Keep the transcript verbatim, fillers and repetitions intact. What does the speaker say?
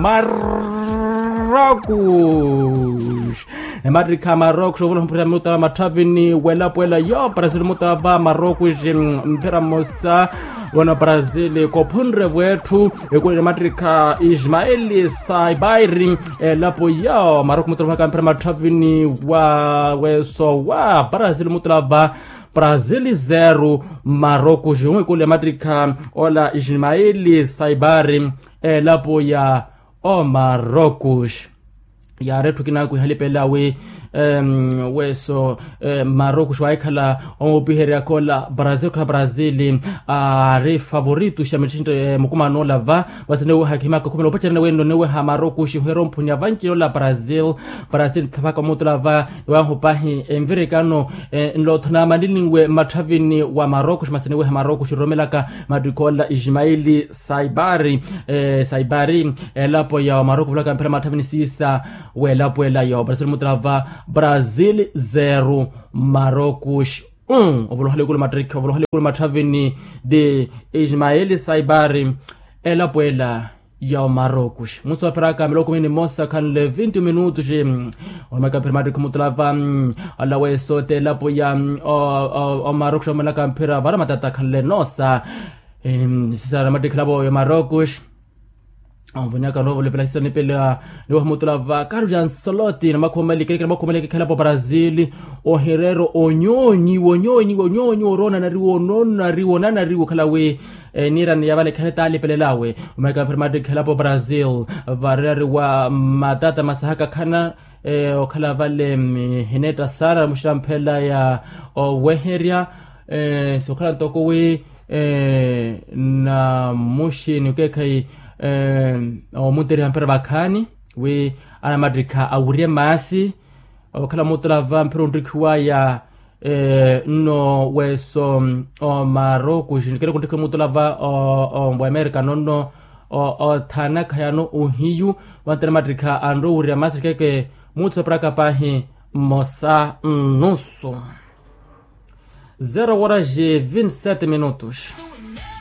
Marrocos. Emattikha a marrocos ovoloha mphira mutava matthavini welapo ela yo brazil mutava marrocos. Mphira mmosa wena brazil kophunre vwetthu. Ekule emattikha ismael saibairi elapo yo marrocos mutava mphira matthavini wa weso wa brazil mutava brazil zero marrocos. Ekule emattikha ola ismael saibairi elapo ya omarrocos. Yaari etthu kinaku ihalipela wi weso marrocos waahikhala omupiheryaka ola brazil khala brazil aari favorito xa mittinto mukumano ola va. Masi niweha khimaka khumela opacerene wenno niweha marrocos ohera omphuni avanci ola brazil. Brazil nthapaka omutula va iwahu pahi envirikano nlootho naamaniliwe mmatthavini wa marrocos masi niweha marrocos iromelaka mattikha ola ismael saibari saibari elapo ya omaroko ovoloka mphira matthavini siisa welapo ela ya obrasil mutala va brasil zero marocos. Ovoloha likulu mattrikhi ovoloha likulu matthavini ti ismael saibari elapo ela ya omaroko. Musi waphiraka miloko kumi ni mmosa khanle vinti minutos. Omaka mphira mattrikhi mutala va alaweso ti elapo ya omaroko omelaka mphira vara matata khanle noosa. Sisara mattikhi elapo ya omaroko. Onvonyaka noova olepela sisa nipela niwaha mutula va carlos ancelotti namakhumeleke namakhumeleke khelapo brazil. Ohireero onyonyiwa onyonyiwa onyonyiwa oroona nariwa onoona nariwa onoona nariwa okhala wi niirani ya vale khale taalipelelawe. Omaka mphira mattikhi elapo brazil varerari wa matata masahaka khana okhala vale hineetta sara muxira mphela ya oweherya. Sokhala ntoko wi na muxini okeekhayi omuttiriha mphira vakhaani wi anamattikha awirye maasi. Okhala mutula va mphira onttikhiwaya nno weso omaroko xinnikere kunttikhiwa mutula va owamerika nonno othanakha yano ohiyu. Vantera mattikha anroowirya maasi ttikeke mutsu apiraka paahi mmosa nnusu. Zero horas e vinte e sete minutos.